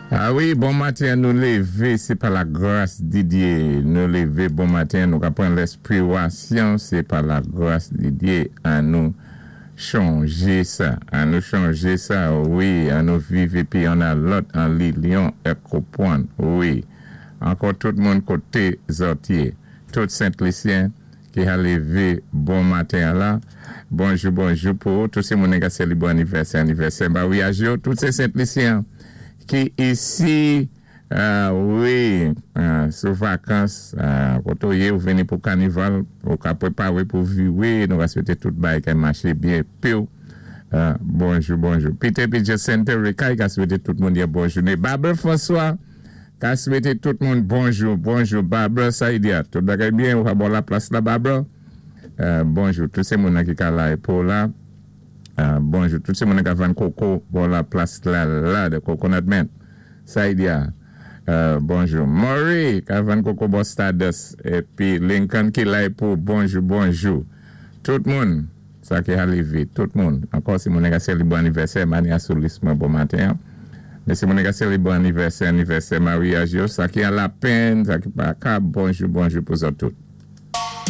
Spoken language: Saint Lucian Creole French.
A wi, bon maten, nou lévé, sé pa la gras di Dyé. Nou lévé bon maten, nou ka pran lèspirasyon, sé pa la gras di Dyé. An nou chonjé sa, an nou chonjé sa, wi, an nou viv épi youn a lòt an linyon èk konpwann, wi. Ankò tout moun koté zòt yé, tout Sent Lisyen ki ha lévé bon maten an la, bonjou bonjou pou tout sé moun ka sélébwé anivèsè anivèsè maryaj yo, tout sé Sent Lisyen ki isi, wi, sou vakans, koté ou yé, ou vini pou kanival, ou ka pwéparé pou viwé, nou ka swété tout bagay ka maché byen piw. Bonjou bonjou. Peter épi Jacinthe Rekay ka swété tout moun yon bon jouné. Barbara François ka swété tout moun bonjou bonjou. Barbara Saïdia, tout bagay byen, ou ka bò la plas la, Barbara? Bonjou tout sé moun ki ka la pou la. Bonjou tout sé moun ka vann koko bò la plas la la de Coconut Man. Saïdia, bonjou. Murray ka vann koko bò Stardust épi Lincoln ki la pou, bonjou bonjou. Tout moun sa ki lévé, tout moun. Ankò si moun ka sélébwé anivèsè, Mania sou lis mwen bon maten. Mé si moun ka sélébwé anivèsè, anivèsè maryaj yo, sa ki an lapenn, sa ki pa ka, bonjou bonjou pou zòt tout.